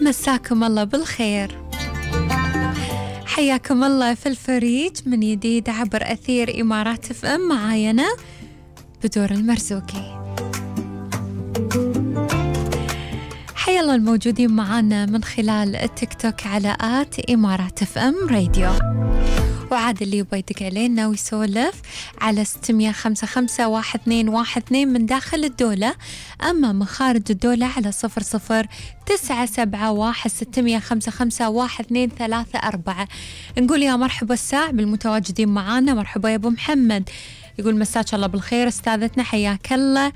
مساكم الله بالخير، حياكم الله في الفريج من جديد عبر أثير إمارات اف ام. معاي أنا بدور المرزوقي. حيا الله الموجودين معانا من خلال التيك توك على @إمارات اف ام راديو، وعاد اللي يبغى يدق علينا ويسولف على 655 من داخل الدولة، أما من خارج الدولة على 009716551234. نقول يا مرحبا الساع بالمتواجدين معانا. مرحبا يا أبو محمد، يقول مساك الله بالخير استاذتنا، حياك الله.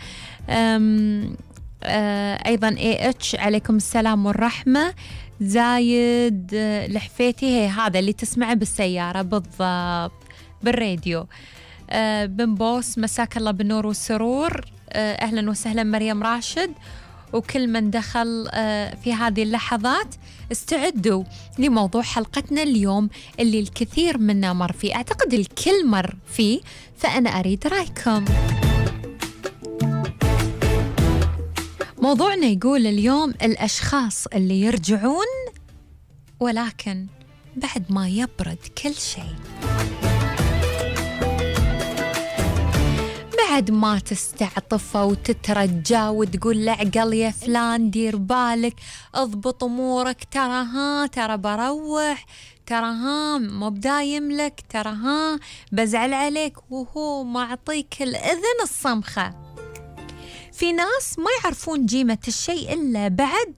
أيضا AH عليكم السلام والرحمة. زايد لحفيتي، هي هذا اللي تسمعه بالسيارة بالضبط بالراديو. بن بوس مساك الله بالنور والسرور. أهلا وسهلا مريم راشد وكل من دخل في هذه اللحظات. استعدوا لموضوع حلقتنا اليوم اللي الكثير منا مر فيه، أعتقد الكل مر فيه، فأنا أريد رأيكم. موضوعنا يقول اليوم الأشخاص اللي يرجعون ولكن بعد ما يبرد كل شيء، بعد ما تستعطفه وتترجى وتقول له عقل يا فلان دير بالك اضبط أمورك، ترى بروح، ترى مو بدايم لك، ترى بزعل عليك، وهو معطيك الأذن الصمخة. في ناس ما يعرفون قيمة الشيء إلا بعد